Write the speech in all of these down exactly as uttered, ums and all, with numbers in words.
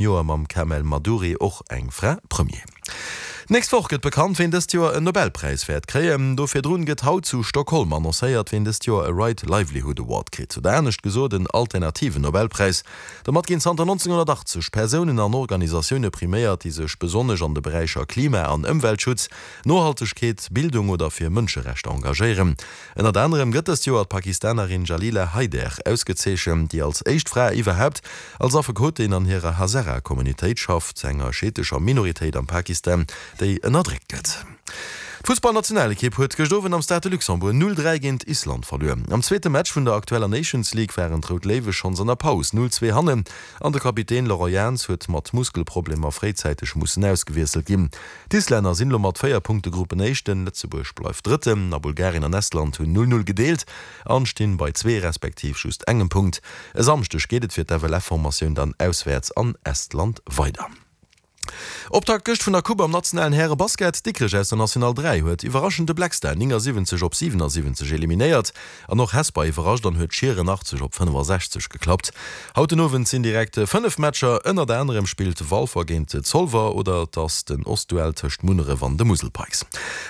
Joer mam Kamel Madouri och eng Fra Premier. D'nächst Woch gëtt bekannt, ween dëst Joer en Nobelpräis wäert kréien. Do virdrun gëtt haut zu Stockholm annoncéiert, ween dëst Joer e Right Livelihood Award kritt, oder anescht gesot en alternativen Nobelpräis. Domat ginn zanter nonzénghonnertachtzeg Persounen an Organisatioune priméiert, déi sech besonnesch an de Beräicher Klima an Ëmweltschutz, Nohaltegkeet, Bildung oder fir Mënscherechter engagéieren. Ënnert anerem gëtt dëst Joer d'Pakistanerin Jalila Haider ausgezeechent, déi als éischt Fra iwwerhaapt als Affekotin an hirer Hazara-Communitéit schafft, enger schiitescher Minoritéit am Pakistan, déi ënnerdréckt gëtt. D'Fussballnationalekipp huet gëscht Owend am Stade de Luxembourg null dräi géint Island verluer. Am zweete Match vun der aktueller Nations League waren d'Rout Léiwe schonns an der Paus null zwee hannen an de Kapitän Laurent Jans huet mat Muskelproblemer fréizäiteg mussen ausgewiesselt ginn. D'Islänner sinn elo mat véier Punkte Gruppenéischten, Lëtzebuerg bleift Drëtten a Bulgarien an Estland hunn null null gedeelt an stinn bei zwee respektiv just engem Punkt. E Samschdeg geet et fir d'F L F-Formatioun dann auswäerts an Estland weider. Optakt gëscht vun der Coupe am nationalen Häre-Basket, Dikrech aus der National dräi huet iwwerraschend de Black Star néngasiwwenzeg op siwenassiwwenzeg eliminéiert an och Hesper iwwerrascht an huet Schieren achtzeg op fënnefasechzeg geklappt. Haut den Owend sinn direkt fënnef Matcher, ënnert anerem spillt Walfer géint Zolwer oder et ass den Ostduell tëscht Munneref an de Musel Pikes.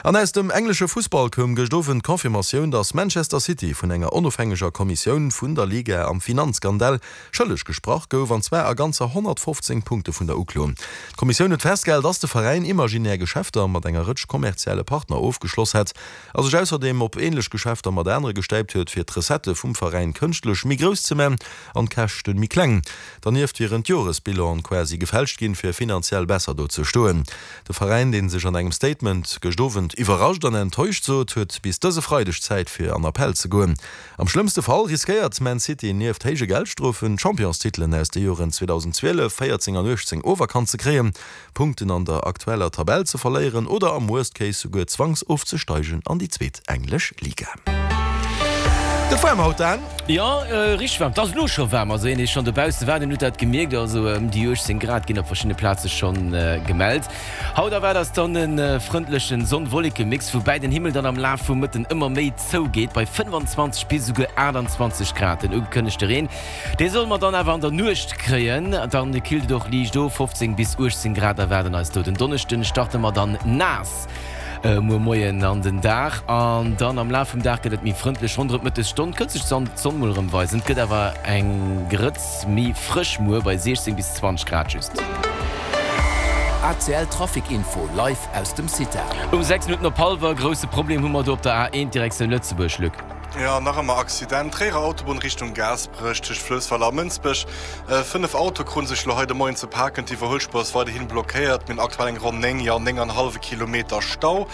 An aus dem englesche Fussball koum gëscht Owend d'Confirmatioun, datt Manchester City vun enger onofhängeger Kommissioun vun der Liga am Finanzskandal schëlleg gesprach gouf, an zwar a ganzer honnertfofzéng Punkte vun der Uklo. D'Kommissioun huet festgehal, dass de Veräin imaginär Geschäfter mat enger Rëtsch kommerzielle Partner ofgeschloss hätt a sech ausserdeem op änlech Geschäfter mat anere gestäipt huet, fir d'Recettë vum Veräin kënschtlech méi grouss ze man an d'Käschte méi kleng. Dernieft wieren d'Joresbilanen quasi gefälscht ginn, fir finanziell besser do ze stoen. De Veräin, dee sech an engem Statement gëscht Owend iwwerrascht an enttäuscht sot, huet bis dëse Freideg Zäit fir an Appell ze goen. Am schlëmmste Fall riskéiert Man City nieft héije Geldstrofen, d'Championstitelen aus de Joren zweedausenzwielef, véierzéng an uechtzéng oferkannt ze kréien, Punkten an der aktueller Tabell ze verléieren oder am Worst Case souguer zwangsofzesteigen an déi zweet englesch Liga. Dat war haut dann. Jo, richteg waarm. Et ass elo scho waarm. Also een, dee schonn dobausse war, deen huet dat gemierkt. Also ëm déi uechtzéng Grad ginn op verschiddene Plaze schonn gemellt. Haut erwaart eis dann e frëndlechen Sonn-Wolleke-Mix, woubäi den Himmel dann am Laf vum Mëtten ëmmer méi zougeet, bei fënnfanzwanzeg bis esouguer aachtanzwanzeg Grad. Den ugekënnegte Reen, dee solle mer dann awer an der Nuecht kréien. Dann killt et och liicht of, fofzéng bis uechtzéng Grad erwaarden eis do. Den Donneschden starte mer dann naass muer Moien an den Dag an dann am Laf vum Dag gëtt et méi frëndlech. Ronderëm d'Mëttesstonn kënnt sech d'Sonn mol erëm weisen. Et gëtt awer eng Grëtz méi frësch muer bei siechzéng bis zwanzeg Grad just. A C L Trafic Info live aus dem CITA. Um sechs Minutten op hallwer, Grousse Problem hu mer do op der A eent Direktioun Lëtzebuerg, Luc. Jo, nach ëmmer Accident, Tréierer Autobunn Richtung Gaasperech tëscht Fluessweiler a Mënsbech. Fënnef Autoe krute sech elo hei de Moien ze paken. D'Iwwerhuelspuer ass weiderhi blockéiert. Mir hunn aktuell eng ronn néng, jo néng an hallwe Kilometer Stau.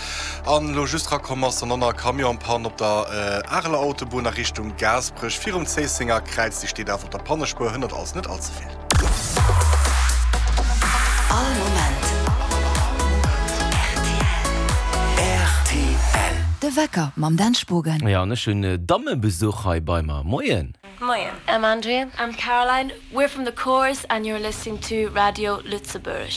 An elo just rakomm ass dann och nach e Camion en panne op der Areler Autobunn a Richtung Gaasperech virum Zéissenger Kräiz. Déi steet awer op der Pannespuer, hënnert also net all ze vill. All Moment R T L. De Wecker mam Dan Spogen. Jo, an ech hunn Dammebesuch hei bei mer. Moien. Moien. I'm Andrea. I'm Caroline. We're from the Chorus and you're listening to Radio Lëtzebuerg.